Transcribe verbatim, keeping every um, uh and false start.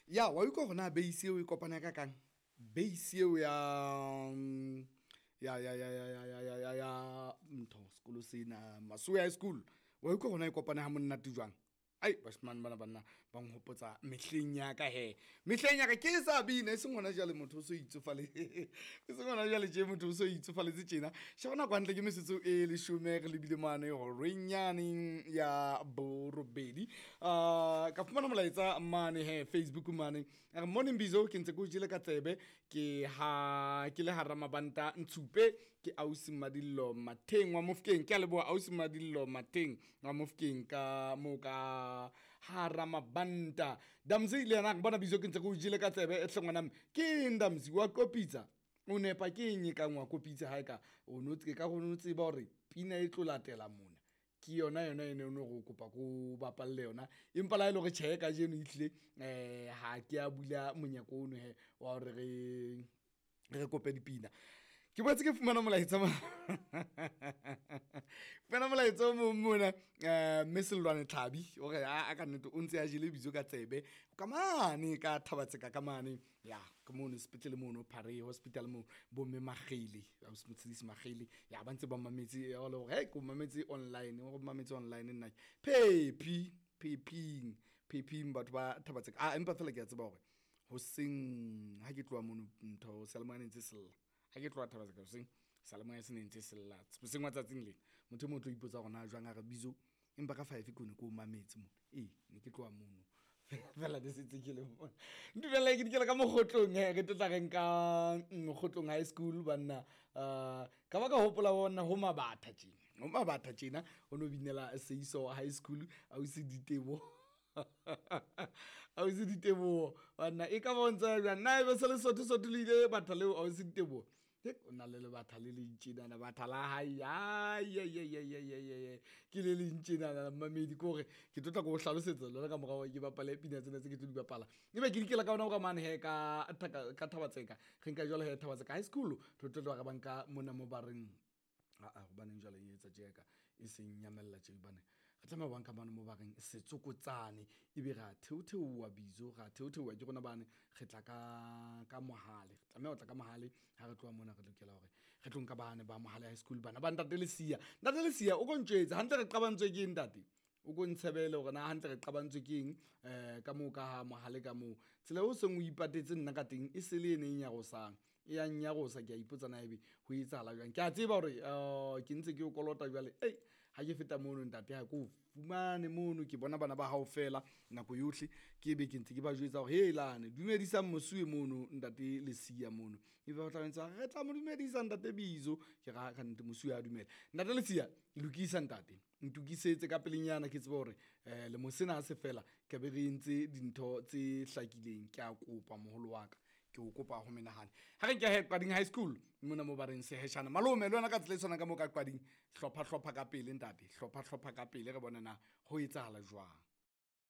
Ya wa utlwa hore na base eo e kopana ka kang base eo ya ya ya ya ya ya ya ya ya ya ntho sekolo sena Masowe High School. Wa utlwa hore na e kopane ha monate jwang. Ai bashemane bana banna ba nhopotsa mehleng ya ka he, mehleng ya ka ke sa bina e seng hona jwale motho o so itsofale e seng hona jwale tje motho o so itsofaletse tjena. Sheba nako hantle ke metsotso e leshome re lebile mane horeng yane ya borobedi. Uh, ka fumana molaetsa mane he Facebook mane. A re morning Bizo, ke ntse ke o jele ka tsebe ke ha ke le hara mabanta Ntshupe ke ausi Madillo Matheng wa Mofokeng. Ke a leboha ausi Madillo Matheng wa Mofokeng ka mo ka hara mabanta. Damzi le yena bona Bizo ke ntse ke o jele ka tsebe e hle ngwana mme. Ke eng Damzi wa kopitsa? O nepa ke eng e kang wa kopitsa ha e ka o no tse ka go no tseba hore pina e tlo latela mona. Ke yona yona ene o no go kopa ko bapalle yona. Empa la e le hore tjhe kajeno ehlile eh ha ke a bula monyako ono he wa hore re re kope dipina. Ke boetse ke fumana molaetsa mo fumana molaetsa o mong mona eh mme Sellwane Tlhabi o re a ka nnete o ntse a jele Bizo ka tsebe ka mane ka Thabatseka ka mane ya ke mono sepetlele mono Phare Hospital mo bo mme Magele ausi Motshidisi Magele ya ba ntse ba mametse ya le hore hey ko mametse online o mametse online nna Phephi Phephing Phephing batho ba Thabatseka. Ah empa fela ke a tseba hore hoseng ha ke tloha mono ntho seyalemoya ne ntse sella. Ha ke tloha Thabatseka hoseng seyalemoya se ne ntse sella hoseng wa tsatsing lena motho e mong o tlo ipotsa hore na jwang a re Bizo empa ka five ke ne ke o mametse mona. Ee ne ke tloha mono fela ne setse ke le mona. Ntumella ke dikela ka Mokgotlong he re tlo tla re nka Mokgotlong High School banna. Uh, ka ba ka hopola bona ho Mabatha tjena ho Mabatha tjena o no binela Seiso High School ausi Ditebo ausi Ditebo banna e ka bontsha jwang na ebe se le sotho sotho le ile batha leo ausi Ditebo o na le lebatha le leng tjenana batha la hae ai ai ai ai ai ai ke le leng tjenana mmamedi ke hore ke tlo tla ko hlalosetsa lona ka morao ke bapale pina tsena tse ke tlo di bapala. Ebe ke dikela ka ona ka mane he ka ka Thabatseka re nka jwale he Thabatseka High School re tlo tloha re banka mona mo ba reng a a hobaneng jwale e etsa tje ka e seng nyamella tje hobane re tlameha ho banka mane mo ba reng Setsokotsane ebe ra theotheowa Bizo ra theotheowa ke rona bane re tla ka ka Mohale re tlameha ho tla ka Mohale ha re tloha mona re lokela hore re tlo nka bane ba Mohale High School bana ba ntate Lesia. Ntate Lesia o ko ntjwetse hantle re qabantswe ke eng ntate o ko ntshebele hore na hantle re qabantswe ke eng eh ka moo ka ha Mohale ka moo tsela eo seng o ipatetse nna ka teng e se le ene e nyarosang e ya nyarosa ke a ipotsa na ebe ho etsahala jwang. Ke a tseba hore ke ntse ke o kolota jwale ei ha ke feta mono ntate ha ke o fumane mono ke bona bana ba hao fela nako yohle ke be ke ntse ke ba jwetsa hore helane dumedisang mosuwe mono ntate Lesia mono e ba tla ntse re tla mo dumedisa ntate Bizo ke ra ka nnete mosuwe a dumela ntate Lesia lokisa ntate ntokisetse ka pelenyana ke tsebe hore eh le mosena se fela ke be re entse dintho tse hlakileng. Ke a kopa moholo wa ka ke o kopa ho menahane ha re nke he Qading High School mona mo ba reng Seheshana malome le wena ka tsela e tshwanang ka mo ka Qading hlopha hlopha ka pele ntate hlopha hlopha ka pele re bone na ho etsahala jwang.